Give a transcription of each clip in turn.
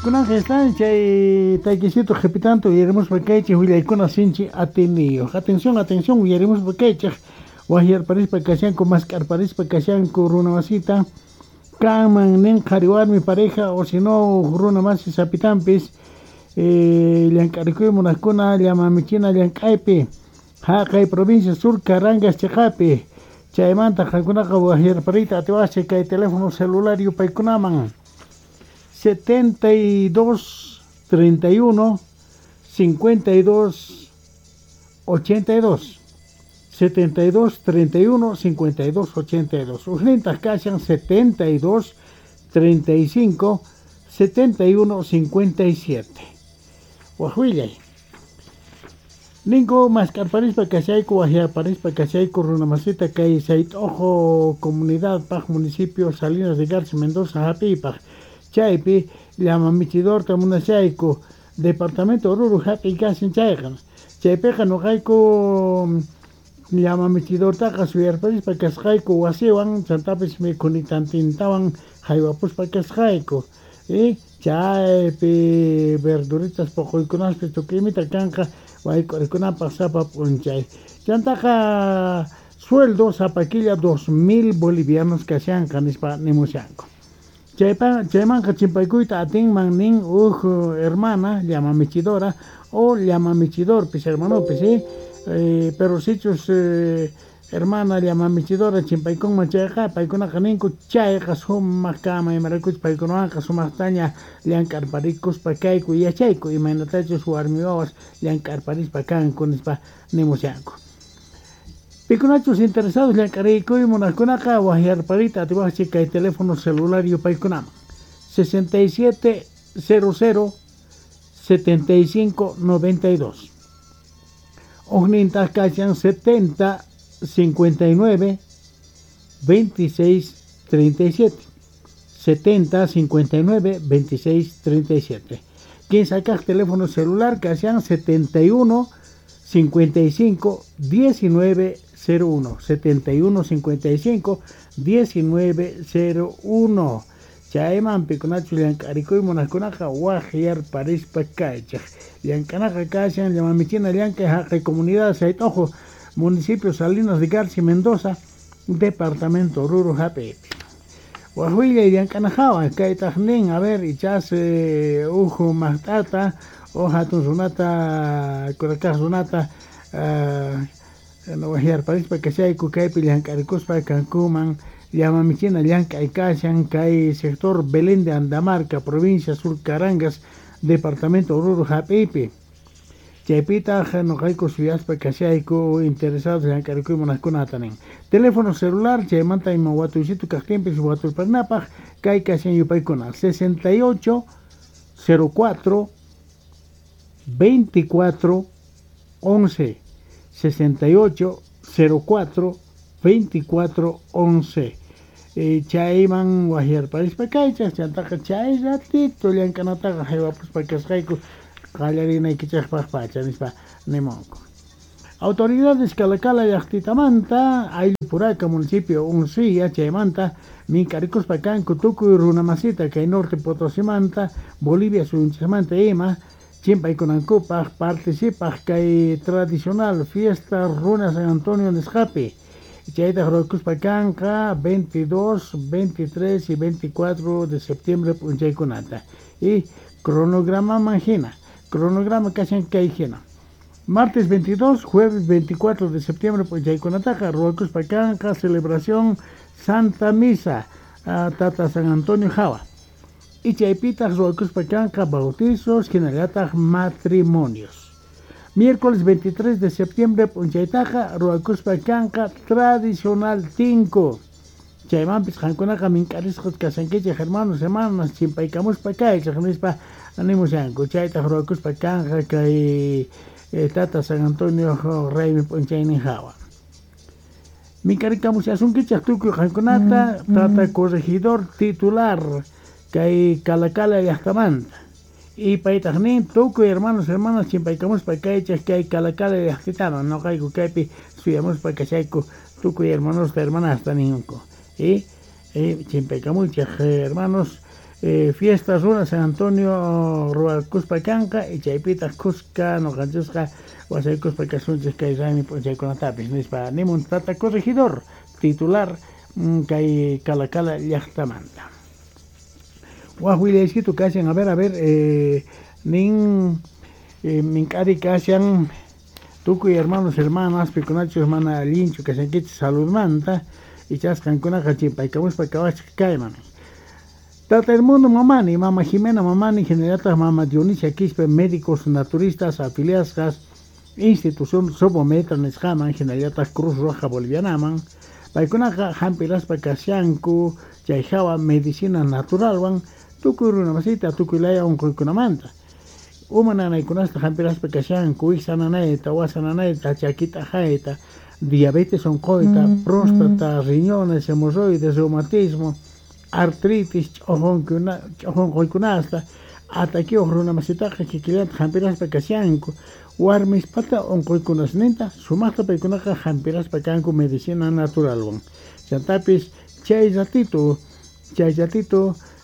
Kunanqa están chay taykisito qhipitanto uyarimuspa kaychik willaykuna sinchi atiniyuq. Atención, atención, uyarimuspa kaychik waqyarparispa kashanku, mask'arparispa kashanku runa masita kanman nin qhari warmi pareja o si no runa masi sapitanpis llank'arikuy munaqkuna llama michina llank'aypi haqay provincia Sur Carangas chiqapi chaymanta qankunaqa waqyarpariyta atiwaqchik kay teléfono celular yupaykunaman 72 31 52 82 72 31 52 82 Ujnintaq kashan 72 35 71 57 Waq willay. Ninku mask'arparispa kashayku waqyarparispa kashayku runa masita kay Sayt'uqu comunidad paq municipio Salinas de Garci Mendoza hap'iypaq chaypi llama michidorta munashayku departamento Oruro hap'iy kashan chayqa chaypiqa nuqayku llama michidortaqa suyarparispa kasqayku wasiwan chantapis mikhunitantintawan haywapuspa kasqayku y chaypi verduritas puquykunaspi tukuymita kanqa wayk'urikunapaq sapa p'unchay chantaqa sueldo sapa killa 2000 bolivianos kashanqa nispa nimushanku chaypa chaymanqa chimpaykuyta atinman nin huk hermana llama michidora o llama michidorpis hermanopis ¿sí? Pero sichus hermana llama michidora chimpaykunman chayqa paykunaqa ninku chayqa sumaq kama imaraykuchus paykunawanqa sumaqtaña llank'arparikuspa kayku yachayku imaynatachus warmi wawas llank'arparispa kanku nispa nimushanku. Pikunachus interesados llank'arikuy munaqkunaqa waqyarpariyta atiwaqchik kay teléfono celular yupaykunaman 67 00 75 92 Ujnintaq kashan 70 59 26 37 70 59 26 37 Kinsa kaq teléfono celular kashan 71 55 19 01 71 55 19 01 Chayman pikunachu llank'arikuy munaqkunaqa waqyarparispa kaychik llank'anaqa kashan llama michina llank'ay haqay comunidad Sayt'uqu municipio Salinas de Garci Mendoza departamento Oruro hap'iypi waq willay llank'ana hawa kaytaq nin a ver ichas huk maqt'ata o hatun runata kurakaq runata waqyarparispa kashayku kaypi llank'arikuspa kankuman llama michina llank'ay kashan kay sector Belén de Andamarca provincia Sur Carangas departamento Oruro hap'iypi chaypitaq nuqayku suyaspa kashayku interesados llank'arikuy munaqkunata nin teléfono celular chaymanta ima watuysitu kaqtinpis waturparinapaq kay kashan yupaykuna 68 04 24 11 68 04 24 11 chayman waqyarparispa kaychaq chantaqa chay ratito llank'anataqa haywapuspa kasqayku qallarinaykichikpaq pacha nispa nimunku. Autoridades Calacala llaqtitamanta Ayllupuraka municipio Uncía chaymanta mink'arikuspa kanku tukuy runa masita kay Norte Potosimanta Bolivia suyunchikmanta ima chimpaykunankupaq participaq kay tradicional fiesta Runa San Antonio nisqapi chaytaq ruwakuspa kanqa 22, 23 y 24 de septiembre p'unchaykunata y cronogramaman hina cronograma kashan kay hina martes 22, jueves 24 de septiembre p'unchaykunataqa ruwakuspa kanqa celebración Santa Misa Tata San Antonio hawa y chaypitaq ruwakuspa kanqa bautizos hinallataq matrimonios miércoles 23 de septiembre p'unchaytaqa ruwakuspa kanqa tradicional tinku chaymanpis qankunaqa mink'arisqas kashankichik hermanos hermanas chimpaykamuspa kaychik nispa nimushanku chaytaq ruwakuspa kanqa kay Tata San Antonio raymi p'unchaynin hawa mink'arikamushasunkichik tukuy qankunata tata corregidor titular kay Calacala llaqtamanta y paytaq nin tukuy hermanos hermanas chimpaykamuspa kaychik kay Calacala llaqtitaman nuqayku kaypi suyamuspa kashayku tukuy hermanosta hermanasta ninku y chimpaykamuychik hermanos. Fiesta runa San Antonio ruwakuspa kanqa y chaypitaq kuska nuqanchisqa wasaykuspa kasunchis kay raymi p'unchaykunatapis nispa nimun tata corregidor titular kay Calacala llaqtamanta. Waq willaysitu kashan, a ver, nin mink'ari kashan tukuy hermanos, hermanas, pikunachus mana allinchu kashankichis saludmanta ichas qankunaqa chimpaykamuspa kawachik kayman. Tata Edmundo Mamani, Mama Jimena Mamani, hinallataq Mama Dionisia Quispe, médicos naturistas afiliasqas institución Sobometra nisqaman, hinallataq Cruz Roja Bolivianaman, paykunaqa hampiraspa kashanku chay hawa medicina naturalwan tukuy runamasita tukuy laya unquykunamanta. Uma nanaykunasta hampiraspa kashanku, wiksa nanayta, wasa nanayta, chakita hayta, diabetes unquyta, próstata, riñones, hemorroides, reumatismo, artritis, ch'uqunquykunasta, atakiyuq runamasitaqa kikillanta hampiraspa kashanku, warmispata unquykunasninta sumaqta paykunaqa hampiraspa kanku medicina naturalwan. Chantapis chay ratito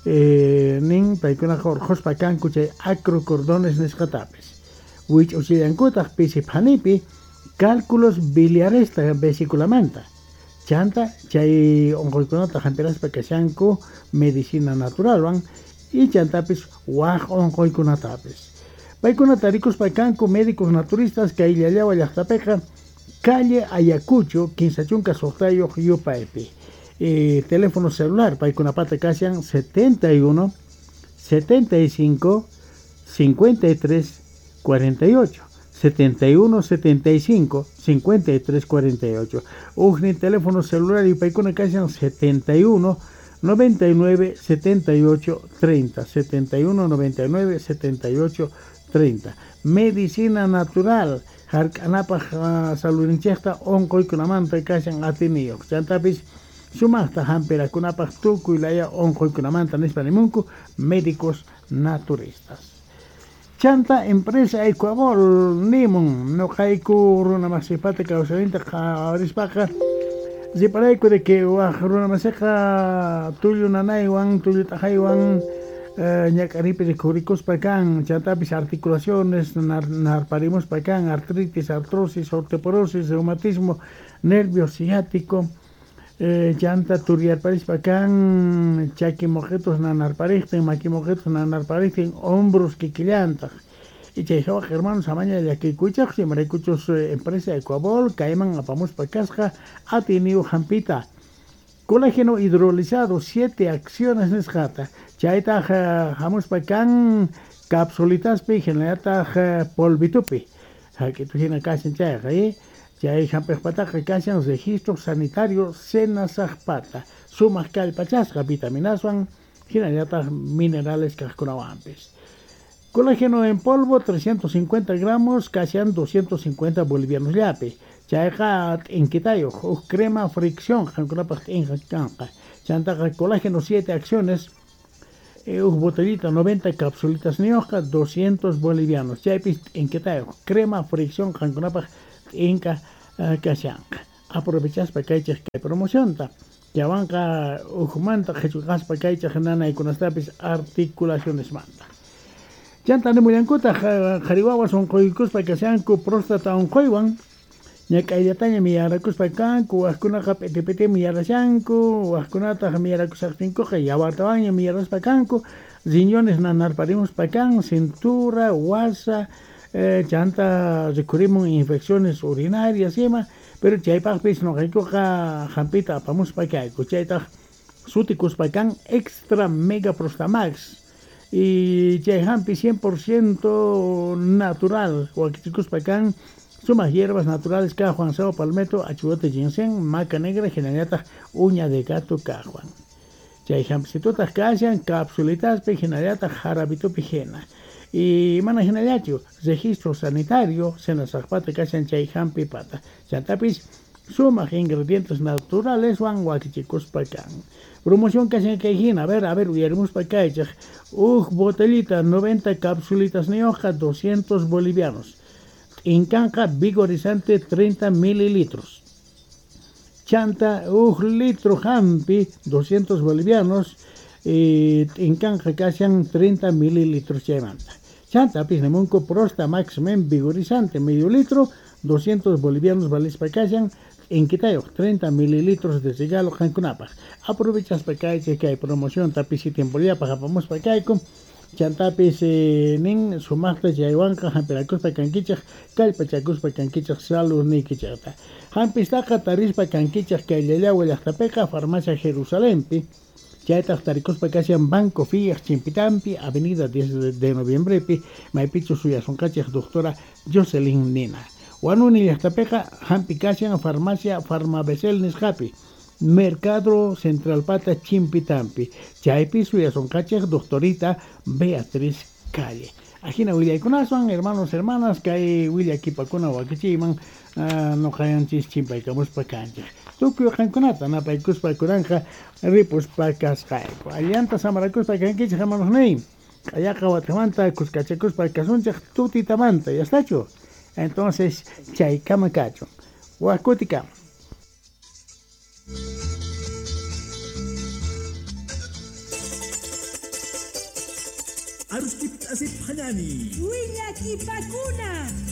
nin paykunaqa urqhuspa kanku chay acrocordones nisqatapis. Wich'uchillankutaq pisi phanipi cálculos biliaresta vesiculamanta. Chanta chay unquykunata hampiraspa kashanku medicina naturalwan y chantapis waq unquykunatapis. Paykunata rikuspa kanku médicos naturistas kay Llallawa llaqtapiqa calle Ayacucho 56 yupaypi. Teléfono celular paykunapata kashan 71 75 53 48. 71 75 53 48. Ujni teléfono celular y paykuna kashan 71 99 78 30. 71 99 78 30. Medicina natural hark'anapaq saludninchikta unquykunamanta kashan atiniyuq. Chantapis sumaqta hampirakunapaq tukuy laya unquykunamanta nispa nimunku médicos naturistas. Chanta empresa Ecuabol nimun nuqayku runamasipata kawsayninta qhawarispaqa riparayku de que waq runamasiqa tullu nanaywan tullu t'aqaywan ñak'aripi rikhurikuspa kan, chantapis articulaciones narparimuspa kan, artritis, artrosis, osteoporosis, reumatismo, nervio ciático, chanta turyarparispa kan, chaki moqitus nanarpariktin, maki moqitus nanarpariktin, hombros kikillantaq. Y chay hawaq hermanos amaña llakikuychaq, imaraykuchus empresa Ecuabol kayman apamuspa kasqa atiniyu hampita. Colágeno hidrolizado, 7 acciones nisqata. Chaytaq hamuspa kan capsulitaspi hinallataq polvitupi. Hak'itu hina kashan chayqa, chay hampiqpataqa kashan registro sanitario Senasaqpata. Sumaq kallpachasqa vitaminaswan hinallataq minerales kaqkunawanpis. Colágeno en polvo 350 gramos kashan 250 bolivianos llapi. Chayqa t'inkitayuq huk crema fricción qankunapaq t'inqa kanqa. Chantaqa colágeno 7 acciones huk botellita 90 capsulitas niyuqqa 200 bolivianos. Chaypis t'inkitayuq crema fricción qankunapaq t'inka kashanqa. Aprovechaspa kaychik kay promocionta. Chawanqa hukmanta qhichwaqaspa kaychik nanaykunastapis articulacionesmanta. Chanta nimullankutaq qhari wawas unquykuspa kashanku próstata unquywan. Ñak'ayllataña miyarakuspa kanku, waqkunaqa p'iti-p'itimi miyarashanku, waqkunataq miyarakusaqtinkuqa yawartawanña miyaraspa kanku, riñones nanarparimuspa kan, cintura, wasa, chanta rikhurimun infecciones urinarias ima, pero chaypaqpis nuqaykuqa hampita apamuspa kayku, chaytaq sutikuspa kan extra mega prostamax. Y chay hampi 100% natural, wakichikuspa kan sumas hierbas naturales ka Juan Sao palmetto, achugote ginseng, maca negra, hinallataq uña de gato ka Juan. Chay hampisitutaq kashan capsulitaspi hinallataq jarabitupi hina. Y mana hinallachu, registro sanitario Senasaqpata kashan chay hampipata. Chantapis sumaq ingredientes naturales wan wakichikuspa kan. Promoción kashan kay hina, a ver, uyarimuspa kaychik. Uj botellita 90 capsulitas niyuqqa 200 bolivianos. T'inkanqa vigorizante 30 mililitros. Chanta uj litro hampi 200 bolivianos. T'inkanqa kashan 30 mililitros chaymanta. Chantapis nimunku Prosta Max Men vigorizante medio litro 200 bolivianos valispa kashan t'inkitayuq 30 mililitros de regalo qankunapaq. Aprovechaspa kaychik kay promocionta pisi tiempollapaq apamuspa kayku. Chantapis nin sumaqta chaywanqa hampirakuspa kankichik kallpachakuspa kankichik saludniykichikta. Hampistaqa tarispa kankichik kay Llallagua llaqtapiqa Farmacia Jerusalempi. Chaytaq tarikuspa kashan Banco Fiat Chimpitampi, Avenida 10 de Noviembrepi, maypichu suyasunqachik doctora Jocelyn Nina. Huanuni llaqtapiqa hampi kashan Farmacia Farmabesel nisqapi, Mercado Central Pata Chimpitampi. Chaypi suyasunqachik doctorita Beatriz Calle. Ajina willaykunaswan, hermanos, hermanas, kay willakipakuna wakichiyman nuqayanchis chimpaykamuspa kanchik. Tukuy qankunata napaykuspa kunanqa ripuspa kasqayku. Allanta samarakuspa kankichik, hermanos niy. Q'ayaqa watamanta kuskachakuspa kasunchik tutitamanta, ¿ya? Entonces, chaykama kachun. Wakutikama. Arustip asip hanani. Willakipakuna.